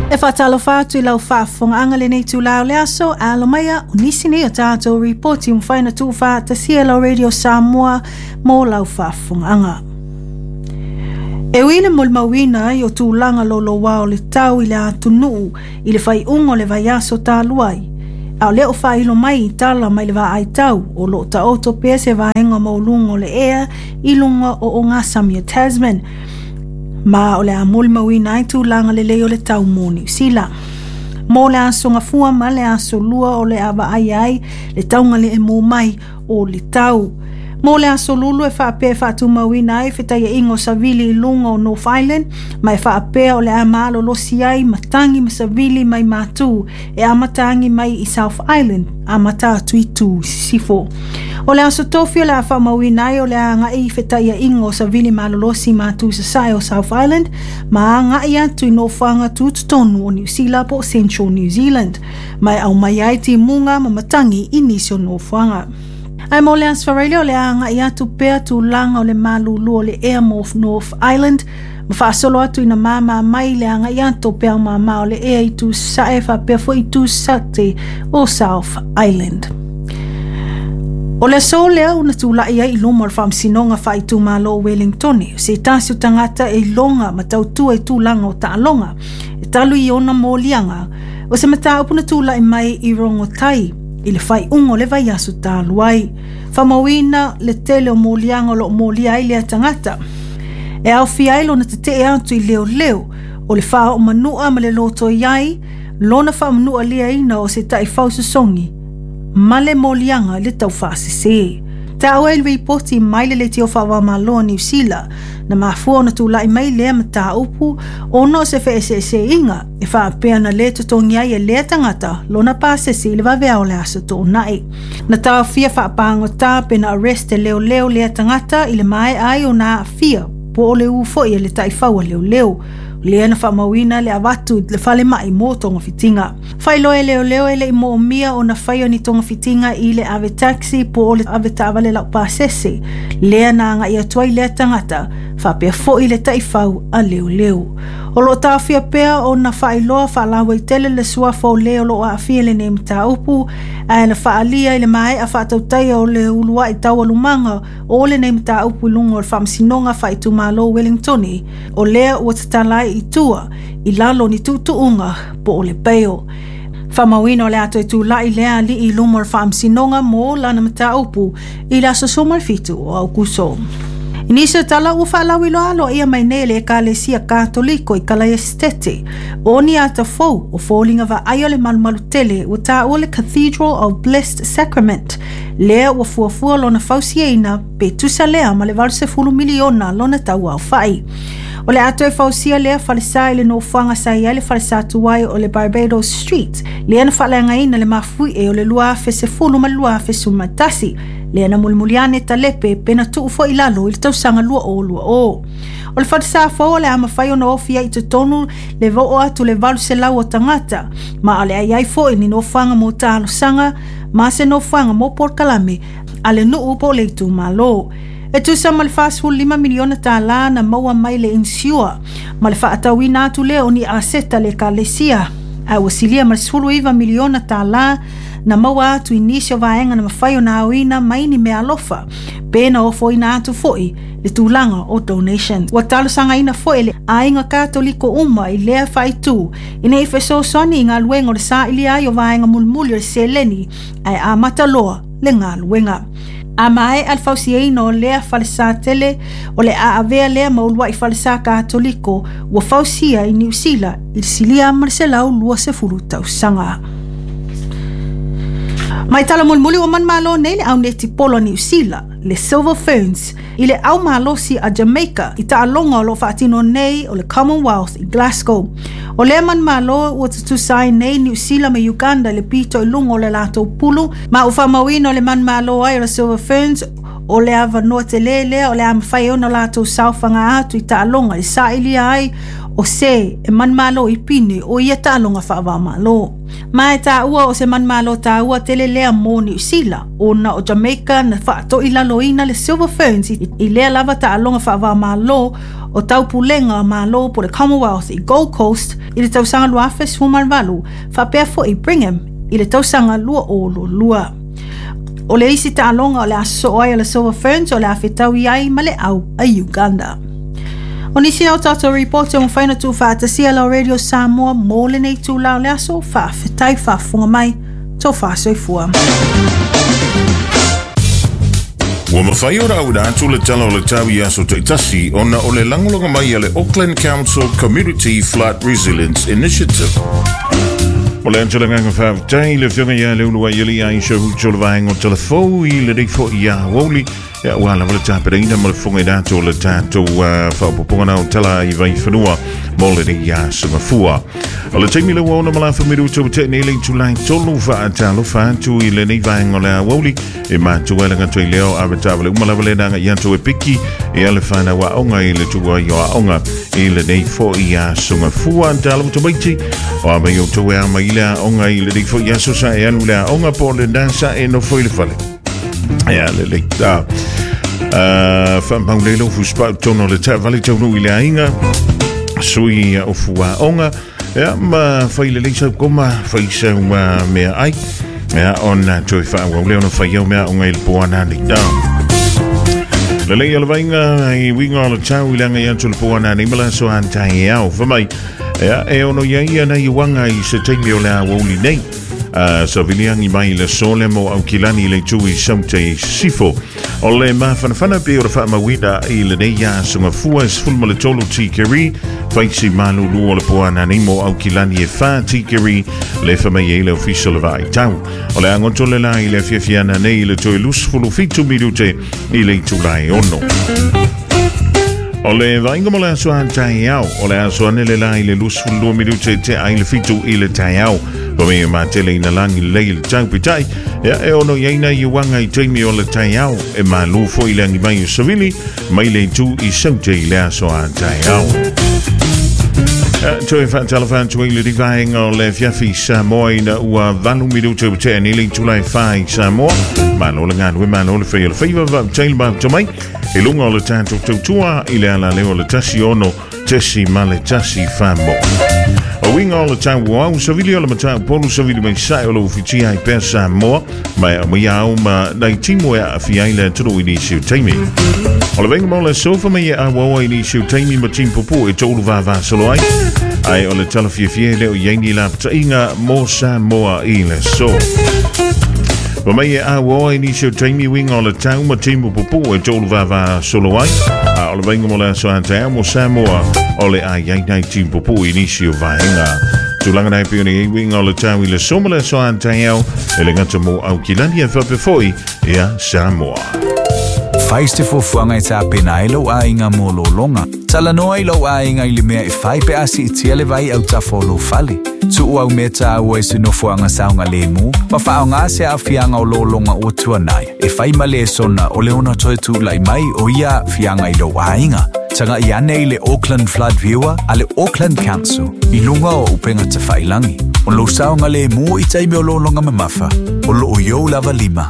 E faatalofa atu i lau faafofogaaga lenei itulā o le aso. Alo maia, o nisi nei o tatou ripoti ua mafai ona tuufaatasia e lau Radio Samoa mo lau faafofogaaga. E ui le molimauina ai o tulaga louloua o le tau i le atunuu i le faaiuga o le vaiaso talu ai, a o lea o faailo mai i tala mai le vaai tau o lo o taoto pea se vaega maualuga o le ea i luga o ogasami o Tasman, ma o le a molimauina ai tulaga lelei o le tau mo Niu Sila. Mo le aso Gafua ma le aso Lua o le a vaaia ai le taugalemu mai o le tau. Mo le aso Lulu e faapea e faatumauina ai fetaiaiga o savili i luga o North Island, ma e faapea o le a malolosi ai matagi ma savili mai matu e amata agi mai i South Island amata atu i tu i sisifo. O le aso Tofi o le a faamauina ai o le a agai i fetaiaiga o savili malolosi matu i sasae o South Island ma agai atu i nofoaga tutotonu o Niu Sila po o Central New Zealand, ma e aumai ai timuga ma matagi i nisi o nofoaga. Ae mo le Aso Faraile o le a agai atu pea tulaga o le malulu o le ea mo North Island ma faasolo atu ina māmā mai le agai atu o peau māmā o le ea i tu sae faapea foi i tu sate o South Island. O le aso lea ua na tula'i ai i luma o le Faamasinoga Faaitumalo o Wellingtone, o se tasi o tagata e iloga ma tautua i tulaga o taaloga, e talu i ona moliaga, o se mataupu na tula'i mai i Rongotai i le faaiuga o le vaiaso talu ai. Faamauina le tele o moliaga o lo o molia ai lea tagata. E aofia ai lona tetee atu i leoleo, o le faaoo manua ma le lotoi ai, lona faamanualiaina o se taifau sosogi, ma le moliaga i le taufaasese. Taua i le ripoti mai le Leitio Faava-o-Malo a Niu Sila, na mafua ona tulai mai lea mataupu ona o se feeseeseaiga e faapea na lē totogi ai e lea tagata lona pasese i le vaveao o le aso Toonai. Na taofia faapagota pe na arrest e leoleo lea tagata i le maea ai ona aafia po o le u foi a le taifau a leoleo, lea na faamauina le avatu i le falemai mo togafitiga. Faailoa e leoleo e le i moomia ona faia ni togafitiga i le ave taxi po o le ave taavale laupasese, lea na agai atu ai lea tagata, faapea foi le taifau a leoleo. O lo o taofia pea ona faailoa faalauaitele le suafa o le o lo o aafia i lenei mataupu, ae na faaalia i le maea faatautaia o le uluai taualumaga o lenei mataupu i luga o le Faamasinoga Faaitumalo o Wellingtone, o lea ua tatala ai i tua i lalo o ni tuutuuga po o le bail. Faamauina o le a toe tula'i lea alii i luma o le Faamasinoga mo lana mataupu i le aso 17 o Aokuso. I nisi o tala ua faalauiloa aloaia mai nei e le Ekalesia Katoliko i Kalaiasitete o ni ata fou o foliga vaaia o le malumalu tele ua taua le Cathedral of Blessed Sacrament, lea ua fuafua lona fausiaina pe tusa lea ma le 80 miliona lona tau aofai. O le a toe fausia lea falesa i le nofoaga sa i ai le falesa tuai o le Barbados Street, lea na faaleagaina le mafuie o le 2010 ma le 2011, lea na mulimuli ane talepe pe na tuu foi i lalo i le tausaga 2020. O le falesa fou o le a mafai ona ofi ai i totonu le oo atu le 800 o tagata, ma o le a i ai foi ni nofoaga mo talosaga ma se nofoaga mo polokalame a le nuu po o le itumalo. E tusa ma le $45 miliona tālā na maua mai le insure ma le faatauina atu lea o ni aseta a le Ekalesia, ae ua silia ma le $19 miliona tālā na maua atu i nisi o vaega na mafai ona aoina mai ni meaalofa pe na ofoina atu foi le tulaga o donations. Ua talosagaina foi e le aiga Katoliko uma i lea faaitu ina ia fesoasoani i galuega o le sailia ai o vaega mulimuli o le seleni ae amata loa le galuega. A maea le fausiaina o lea falesa tele, o le a avea lea ma uluai falesa Katoliko ua fausia i Niu Sila i le silia ma le 120 tausaga. Mai tala mulimuli ua manumalo nei le au netipolo a Niu Sila, le Silver Ferns, i le au malosi a Jamaica i taaloga o lo o faatino nei o le Commonwealth i Glasgow. O lea manumalo ua tutusa ai nei Niu Sila ma Uganda i le pito i luga o le latou pulu, ma ua faamauina o le manumalo ai o le Silver Ferns o le avanoa telē lea o le a mafai ai ona latou saofaga atu i taaloga e sailia ai o se e manumalo i pine o ia taaloga faava-o-Malo. Ma e taua o se manumalo taua tele lea mo Niu Sila, ona o Jamaica na faatoilaloina le Silver Ferns i lea lava taaloga faava-o-Malo. o Taupulega o Malo po le Commonwealth i Gold Coast i le tausaga 2018, faapea foi Brigham i le tausaga 2022. O le isi taaloga o le a sosoo ai a le Silver Ferns o le a fetaui ai ma le au a Uganda. O nisi na o tatou ripoti o mafai ona tuufaatasia lau Radio Samoa mo lenei itula o le aso, faafetai faafofoga mai, tofa soifua. Ua mafai ona auina atu le Tala o le Tau i aso taitasi ona o le lagolago mai a le Auckland Council Community Flood Resilience Initiative. O le atu le agaga faafetai i le Afioga ia Leuluaialii Aisha Hucho le vaega o Talafou i lenei foi ia aoauli Ia, ua lava le tapenaina ma le fofoga atu o le tatou faaopoopoga na o tala i vaifanua mo lenei aso mafua. O le taimi le ua ono malafa minuta ua tee nei le itulai tolu faatalofa atu i lenei vaega o le aoauli e matua e lagatoi leo ave taavale uma lava le naga i atu e piki e ale whanau aonga i le tua i o aonga i lenei foi aso mafua. Talo tamaiti o a mai o tau e ama i le aonga i lenei foi aso sa e alu le aonga po le nasa e nofo i le fale. Ia, lelei. Ah. Whaamau nei lau fuspau tono le taavale taunu i le aiga. Sui o fuaonga. Ia, ma whai lelei sau koma, whai sau mea ai. Ia, ona toe whaawau lea ona whai au mea o ngai le poana nei. Lelei o le vainga i winga o le tau i langa i atu le poana nei mala so an tai au. Whamai, ia, e ono ia ia nei wanga i se taimi o le awauli nei. Saviliagi mai le sole mo Aukilani i le itu i Saute i Sisifo. O le mafanafana pe o le faamauina i lenei aso gafua e 13 tikeri, faisi malulu o le poana nei mo Aukilani e 4 tikeri, le fa mai ai le ofisa o le vaaitau. O le agoto le la i le afiafiana nei i le toe 27 minute i le itula e 6. O le vaaiga mo le aso a taeao, o le aso ane le la i le 22 minute te ai le 7 i le taeao. Pa me ma tele ina langi lelei le tau pitai, ia e ono i aina i uanga i taimi o le taeao, e malu foi le angi mai o Savili, mai le itu i Saute i le aso a taeao. Toe whaatalofa atu ai le rivaenga o le afiafi Samoa ina ua 8 minuta ua tea nei le itula e 4 i Samoa. Malo le galue, malo le whai o le whaiva vaotai le mafuta mai. I lunga o le tātou tautua i le alaleo o le 16 tesi ma le 14 mo. O winga o le tau o au, savili o le matau polu, savili mai sae o le ufitia i pea Samoa, mai a mai au ma nai timo e aafia ai le atunuu i nisi o taimi. O le vainga mo le sofa mai e auaua i nisi o taimi ma timu pupu e toulu vavasolo ai. Ai o le tala fiafia e le o i ai ni lapataiga mo Samoa i le aso. Fa mai e auaua i nisi o taimi uiga o le tau ma timu pupu e toulu vavasolo ai. A o le vainga mo le aso a taeao mo Samoa o le a i ai nai timu pupu i nisi o vaega. Tulaga nei pei ona i ai uiga o le tau i le aso ma le aso a taeao e le gata mo Aukilani ae faapea foi ia Samoa. Fai se fuafuaga e tapena ai lou aiga mo lologa. Talanoa i lou aiga i le mea e fai pe a siitia le vai autafa o lou fale. Tuu au mea taua i se nofoaga saogalemu ma faaaoga se aafiaga o lologa ua tuanai e fai ma lesona o le ono toe tulai mai o ia aafiaga i lou aiga. Tagai ane i le Auckland Flood Viewer a le Auckland Council i luga o upega tafailagi. O lou saogalemu i taimi o lologa mamafa, o loo i ou lava lima.